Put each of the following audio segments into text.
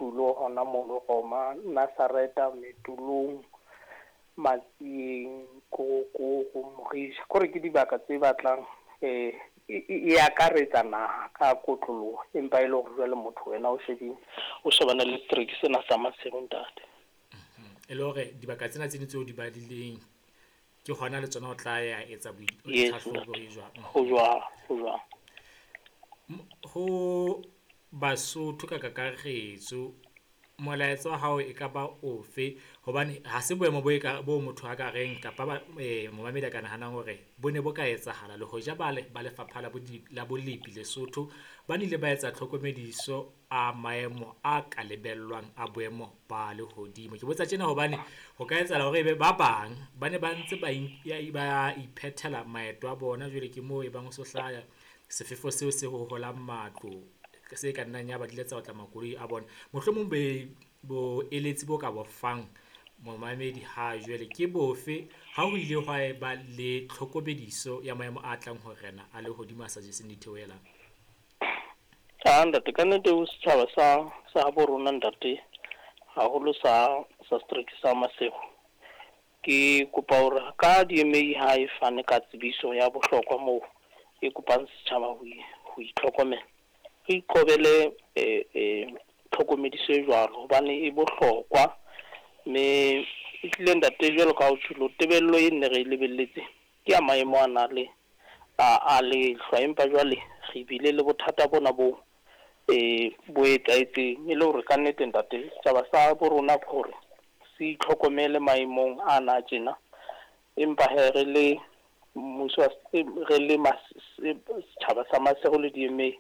Thulo hona mono Roma, Nazareta, Metolong, Matsieng, Korokoro, Morisha. Kore ke dibaka tse batlang e akaretsa naha ka kotloloho, empa e le hore jwale motho wena o shebile, o shebana le setereke sena sa Maseru, ntate. E le hore dibaka tsena tse ding tseo di badileng ke hona le tsona o tla ya etsa Yes, tlhahlobo ntate. E jwang? Ho jwalo, ho jwalo. Ho Basotho ka kakaretso, molaetsa wa hao e ka ba ofe? Hobane ha se boemo bo e ka bo motho a ka reng kapa ba momamedi a ka nahanang hore bo ne bo ka etsahala le hoja ba le ba lefapha la la bolepi Lesotho ba nile ba etsa tlhokomediso a maemo a ka lebellwang a boemo ba lehodimo. Ke botsa tjena hobane ho ka etsahala hore ebe ba bang ba ne ba ntse ba ba iphethela maeto a bona, jwale ke moo e bang ho so hlaya sefefo seo se hoholang matlo, se ka nnang ya ba di ile tsa otla makoloi a bona. Mohlomong boeletsi bo ka bo fang momamedi ha jwale ke bofe ha ho ile hwa e ba le tlhokomediso ya maemo a tlang ho rena a lehodimo a sa jeseng ditheohelang? Ah, ntate, ka nnete ho setjhaba sa habo rona, ntate, haholo sa setereke sa Maseru. Ke kopa hore ka DMA ha e fane ka tsebiso ya bohlokwa moo e kopang setjhaba ho itlhokomela. Re iqobele tlhokomediso e jwalo hobane e bohlokwa, mme e tlile, ntate, jwalo ka ha o tjholo, tebello e nne re e lebelletse ke ya maemo a na le a lehlwa, empa jwale re bile le bothata bona bo bo etsahetseng. E le hore ka nnete, ntate, setjhaba sa bo rona ke hore se itlhokomele maemong ana tjena, empa he re le mmuso, re le setjhaba sa Maseru le DMA,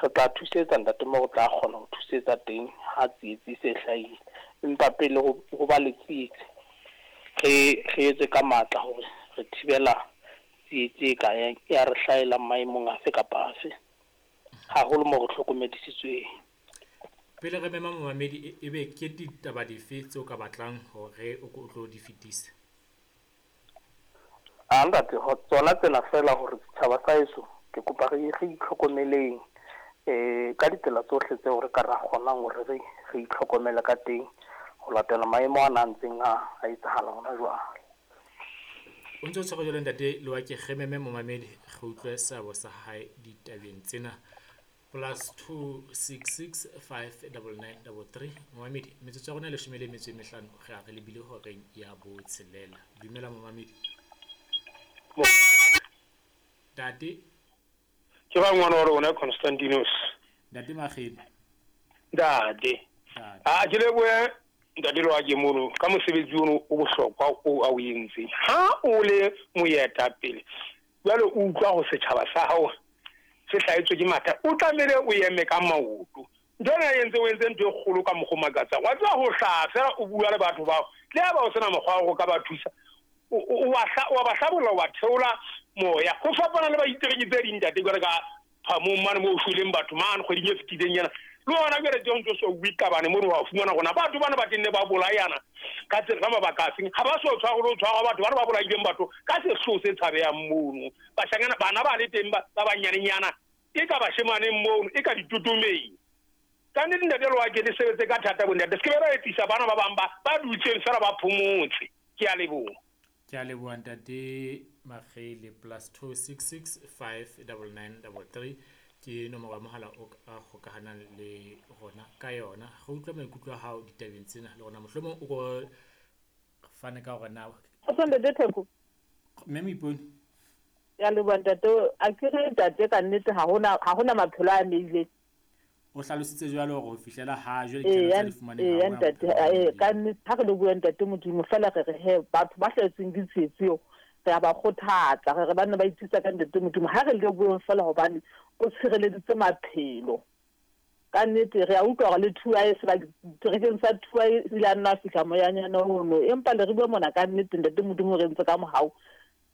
re tla thusetsa, ntate, mo re tla kgona ho thusetsa teng ha tsietsi se hlahile. Empa pele ho ba le tsietsi, re etse ka matla hore re thibela tsietsi e ka ya re hlahelang maemong afe kapa afe, haholo mo re hlokomedisitsweng. Pele re mema momamedi, ebe ke ditaba dife tseo ka batlang hore o ko o tlo di fetisa? A ntate, tsona tsena fela hore setjhaba sa heso, ke kopa re itlhokomeleng ka ditsela tsohle tseo re ka ra kgonang hore re itlhokomele ka teng ho latela maemo a na ntseng a etsahala hona jwale. O ntse o tshware jwalo, ntate Lewake, re meme momamedi, re utlwe seabo sa hae ditabeng tsena. +266 5 99 33. Momamedi, metsotso ya rona e 15, re a re lebile horeng ya botshelela. Dumela, momamedi. Ntate. Ke ba ngwana wa rona Constantinos. Ntate Makgele. Ntate. Ntate. A ke lebohe ntate Loake mono ka mosebetsi ono o bohlokwa o a o entseng. Ha o le moetapele jwale, o utlwa ho setjhaba sa hao se hlahetswe ke mathata, o tlamehile o eme ka maoto. Ntho ena e entse, o entse ntho e kgolo ka mokgwa o makatsang. Wa tseba, ho hlaha fela o bua le batho bao, le ha ba o sena mokgwa wa hore o ka ba thusa, o wa ba hlabolla, o ba theola moya, ho fapana le baitereki tse ding, ntate. Jwale ka phamong mane moo shweleng batho mane kgweding e fetileng yana, le ona jwale teng ntso so bue qabane mono, wa fumana rona batho bana ba tenne ba bolayana ka tsela ka mabaka a feng, ha ba so tshware le ho tshwarwa batho bana ba bolaileng batho ka sehloho se tshabehang mono. Bashanyana bana ba le teng ba banyanenyana, e ka bashemaneng mono, e ka ditotomeng. Ka nnete, ntate Loake, le sebetse ka thata bo ntate, se ke be ba etsisa bana ba bang ba dutseng fela ba phomotse. Ke a leboha. Ke a leboha, ntate Makgele. +266 5 99 33 ke nomoro ya mohala o ka kgokahanang le rona ka yona. Re utlwa maikutlo a hao ditabeng tsena, le rona mohlomong o ko fane ka hore na Kgotso, ntate Theko. Mme Moipone. Ya leboha, ntate. A ke re, ntate, ka nnete ha hona maphelo a ameileng. O hlalositse jwalo hore ho fihlela ha jwale ditlaleho tse di fumaneng, ha Eya, hona ntate. bophelo bo Ka ameileng. nnete ha re le bua, ntate Modimo fela, re re he batho ba hlahetsweng ke tsietsi eo, re a ba kgothatsa, re re ba nne ba ithusa ka ntate Modimo. Ha re le bueng fela hobane o tshireleditse maphelo. Ka nnete re a utlwa hore le Thuae, seterekeng sa Thuae ile a nna a fihla moyanyana ono, empa le re bue mona, ka nnete ntate Modimo o re entse ka mohau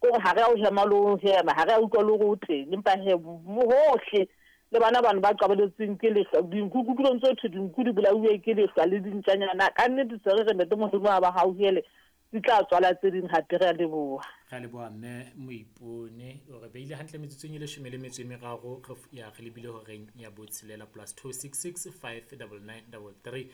kore ha re a o hema le ho hema, ha re a utlwa le hore o teng, empa he hohle le bana bano ba qabeletsweng ke lehlwa, dinku kutlwilong tse thwe dinku di bolauwe ke lehlwa le dintjanyana. Ka nnete se re re ntate Modimo a ba hauhele, di tla tswala tse ding hape. Re a leboha. Re a leboha, mme Moipone. O re beile hantle metsotsong e 13, re ya re lebile horeng ya botshelela. +266 5 99 33.